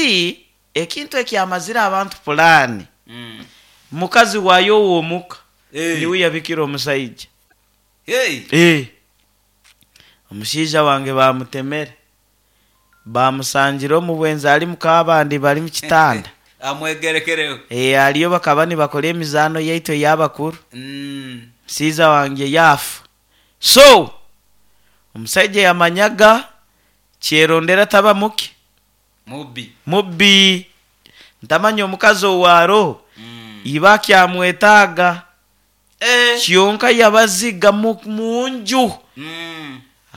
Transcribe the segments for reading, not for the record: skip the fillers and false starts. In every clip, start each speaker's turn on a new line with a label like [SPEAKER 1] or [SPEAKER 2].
[SPEAKER 1] Hati ekintu ekyamazire abantu pulaani, mukazi waayo ow'omuka niwe yabikire omusaija. Eeh. Omushaija wange baamutemere, baamusangire omu bwenzi ari muk'abandi bari mu kitanda.
[SPEAKER 2] Amwegerekereho.
[SPEAKER 1] Eeh, ariyo bakaba nibakora emizaano yaitu ey'abakuru. Omushaija wangye yaafa. So, omusaija yamanyaga kyerondera taba muki?
[SPEAKER 2] Mubbi.
[SPEAKER 1] Mubbi. Ntamanya omukazi ou aroho, iba akyamwetaaga. Kyonka yabaziga mu nju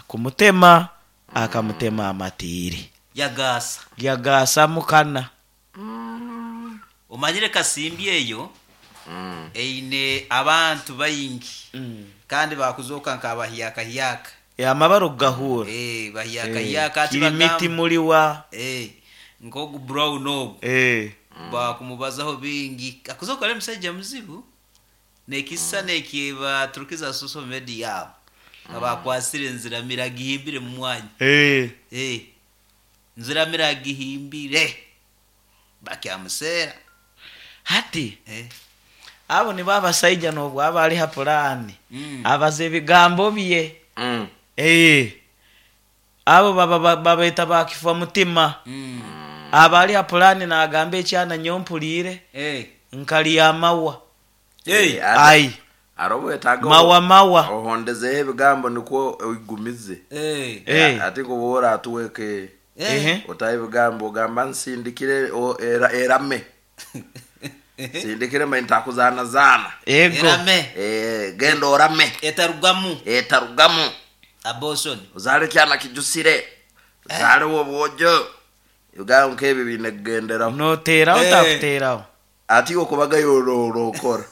[SPEAKER 1] kumutema, akamutema amatiiri.
[SPEAKER 2] Yagaasa.
[SPEAKER 1] Yagaasa mukana.
[SPEAKER 2] Omanyire Kasimbi eyo eine abantu baingi kandi bakuzooka nk'abahyakahyaka.
[SPEAKER 1] Amabara okugahuura.
[SPEAKER 2] Bahyakahyaka ati
[SPEAKER 1] Kirimiti
[SPEAKER 2] bagamba.
[SPEAKER 1] muriwa.
[SPEAKER 2] Nk'ogu Brown ogu bakumubazaho bingi. Akuzooka ari musaija muzibu. N'ekisisani eki baturukize ha social media aho nga bakwasire Nziramire agihimbire mu mwanya. Nziramire agihimbire bakyamuseera.
[SPEAKER 1] Hati abo nibo abasaija n'obu aba ari ha pulaani abaza ebigambo bye. Abo baba babeeta ba kifwa mutima. Aba ari ha pulaani naagamba ekyana nyowe mpuliire nkarya amawa. Ai,
[SPEAKER 3] Hariho obwetaaga
[SPEAKER 1] mawa mawa.
[SPEAKER 3] ohondezeho ebigambo nikwo oigumize. Ati ngu obu oratuweke otaho ebigambo ogamba nsindikire erame. Nsindikire manye ntakuzanazaana.
[SPEAKER 1] Ego.
[SPEAKER 2] Erame.
[SPEAKER 3] Genda orame.
[SPEAKER 2] Etarugamu.
[SPEAKER 3] Etarugamu.
[SPEAKER 2] Abortion.
[SPEAKER 3] Ozaale ekyana kijusire. Ozaale ow'obwojo. Ebigambo nk'ebyo biine kugenderaho.
[SPEAKER 1] Noteeraho otakuteeraho.
[SPEAKER 3] Ati iwe okubaga orokora.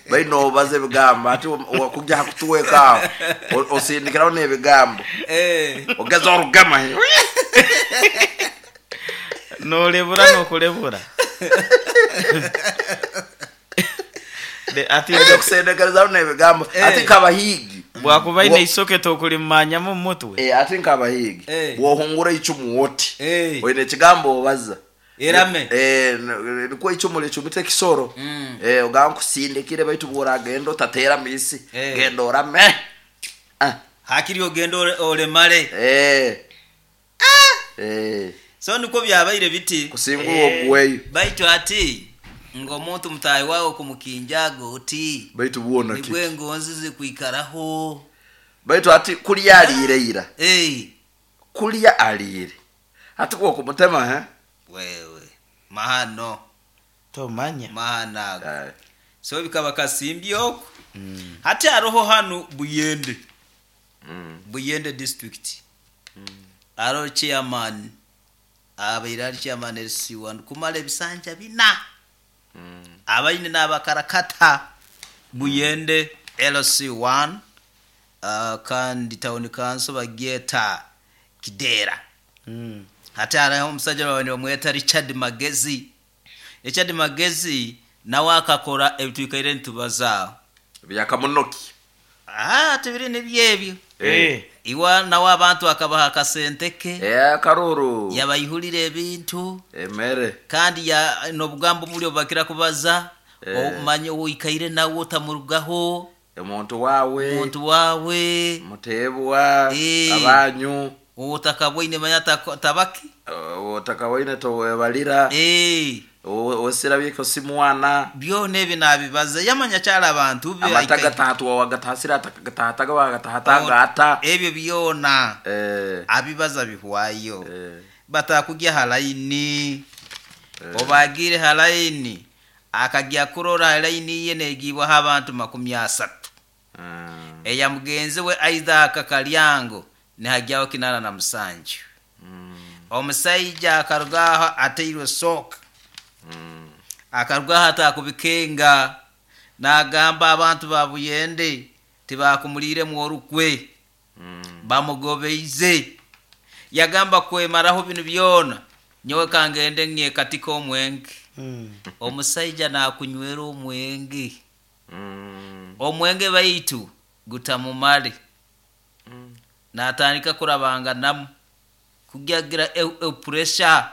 [SPEAKER 3] Baitu nobaza ebigambo. Ati wakugya ha kutuweka aho osindikiraho n'ebigambo. Ogeza orugema.
[SPEAKER 1] Norebura n'okurebura. Ati
[SPEAKER 3] Oine kusendekerezaho n'ebigambo. Ati nk'abahiigi.
[SPEAKER 1] Bwakuba aine eisoke tokulimumanyamu omu mutwe.
[SPEAKER 3] Ati nk'abahiigi. Bw'ohungura eicumu oti, oine ekigambo obaza.
[SPEAKER 2] Erame.
[SPEAKER 3] Nikwo eicumu ricumita ekisoro. Ogamba nkusindikire baitu bw'oragenda otateera miisi. Genda orame.
[SPEAKER 2] Hakiri ogende oremare. So nikwo byabaire biti.
[SPEAKER 3] Kusingura oguweyo.
[SPEAKER 2] Baitu ati ngu omuntu mutaahi waawe kumukinjaaga oti.
[SPEAKER 3] Baitu bwona
[SPEAKER 2] Nibwo
[SPEAKER 3] kiki?
[SPEAKER 2] engonzi zikwikaraho.
[SPEAKER 3] Baitu ati kulya aliire ira. Kulya aliire. Ati kwokumutema he?
[SPEAKER 2] Wewe mahano.
[SPEAKER 1] Tomanya.
[SPEAKER 2] Mahano ago. So bikaba kasimbi oku. Hati haroho hanu Buyende. Buyende district. Haroho chairman abaire ari chairman LC1 kumara ebisanja bina. Abaine nabakarakata Buyende LC1 kandi town council bagyeta Kidera. Hati hariho omusaija babaire nibamweta Richard Magezi. Richard Magezi nawe akakora ebi twikaire nitubazaaho.
[SPEAKER 3] Byakamunoki.
[SPEAKER 2] Tibiri nibyo ebyo. Iwe nawe abantu akabaha akasente ke.
[SPEAKER 3] Akaruru.
[SPEAKER 2] Yabaihurira ebintu.
[SPEAKER 3] Emere.
[SPEAKER 2] Kandi n'obugambo buri obu bakira kubaza, omanye ou oikaire nawe otamurugaho.
[SPEAKER 3] Omuntu waawe.
[SPEAKER 2] Omuntu waawe.
[SPEAKER 3] Muteebwa, abanyu.
[SPEAKER 2] Ou otakaboine manya tabaki.
[SPEAKER 3] Ou otakaboine towebalira. Owesirabye si mwana.
[SPEAKER 2] Byona ebi nabibaza yamanya kyali abantu be.
[SPEAKER 3] Amata gatahatwa wagatasire atakagataataga wagatahatanga ata.
[SPEAKER 2] Ebyo byona abibaza bihwayo. Batakugya ha layini. Obu agiire ha layini, akagya kurora ha layini ye negiibwaho abantu 30. Eya mugenzi we Isaac Kalyango nihagyaho 87. Omusaija akaruga aho atairwe sooka. Akaruga aho atakubikenga nagamba abantu ba Buyende tibakumuliiremu orukwe. Bamugobeize. Yagamba kwemaraho binu byona nyowe kangende nyekatike omwenge. Omusaija nakunywera omwenge. Omwenge baitu gutamumare. Natandika kurabanganamu kugyagira puresha.